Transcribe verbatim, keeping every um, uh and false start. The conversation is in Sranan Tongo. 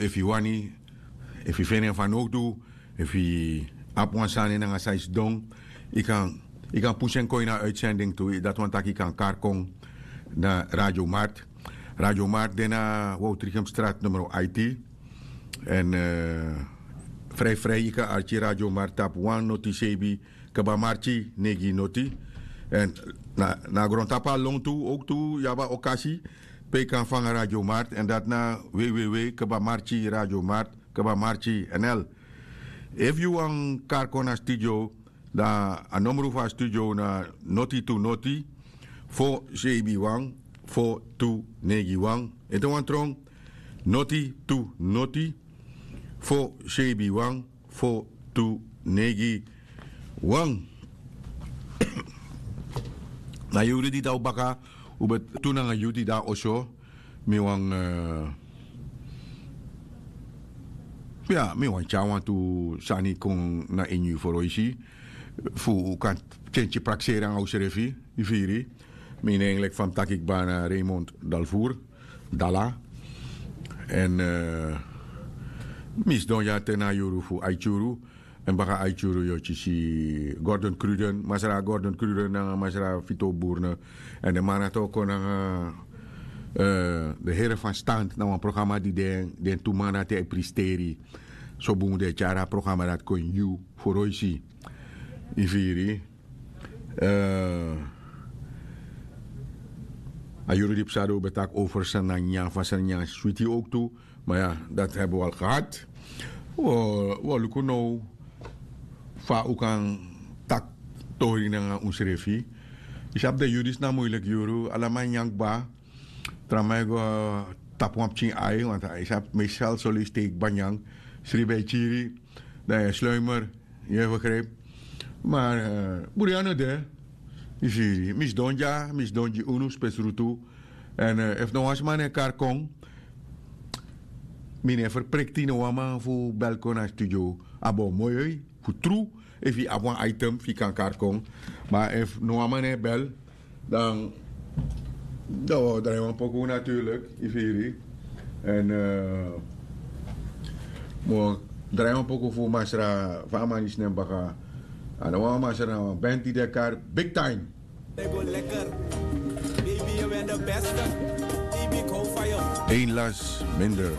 Efu yu wani, efu yu feni en fanowdu, efu yu abi wan sani nanga san yu sidon, yu kan yu kan pusu en kon ini a uitsending tu. Dati wani taki yu kan kari kon na Radio Mart. Radio Mart de na Woutrichem strat numero aiti. Èn frij frij yu kan arki Radio Mart tapu wan noti sebi kaba marki negi noti. Èn na a grontapu a lon tu owktu yu abi a okasi pe yu kan fanga Radio Mart èn dati na wei wei wei kaba marki Radio Mart kaba marki nl. Efu yu wani kari kon na studio, dan a nomru fu a studio na noti tu noti fo sebi wan fo tu negi wan. Ete wan tron, noti tu noti fo sebi wan fo tu negi wan. Na yuru di dan un baka, un ben tu nanga yu di dan oso. Mi wani ya mi wani tyari wantu sani kon na ini yu foroisi fu un kan tyentyi prakseri nanga unsrefi. Yu firi? Mi nen leki fa mi taki kba na Raymond Dalvour Dala. Èn mi sidon dya te na a yuru fu aiti yuru. Èn baka aiti yuru yu o kisi Gordon Cruden, masra Gordon Cruden nanga masra Fito Burne. Èn den man dati o kon nanga den here fan stand na wan programa di den den tu man dati e pristeri. So bun den e tyari a programa dati kon ini yu foroisi. Yu firi? A yuru di psa de un ben taki over sani na nyan fa sani nyan switi owktu. Ma ya, dati hebi un al gehad. Un o luku now fa un kan taki tori nanga unsrefi. Yu sabi den yuru disi na muiliki yuru, ala man nyan kba. Tra man e go tapu wan pikin ai, want yu sabi meestal soleisi te yu kba nyan, sribi e kiri, dan yu e sluimer. Yu e begrijpi? Ma buri a no de. Yu firi? Mi sidon dya, mi sidon gi unu spesrutu. Èn efu no wan sma no e kari kon, mi no e ferprekti no wan man fu bel kon na studio. A bo moi fu tru. Efu yu abi wan item fu yu kan kari kon. Ma efu no wan man no e bel, dan dan wi o drai wan poku naturlik. Yu firi? Èn mi o drai wan poku fu masra fa a man disi nen baka. A no wan masra na wan band di de kari big time. Ein las minder.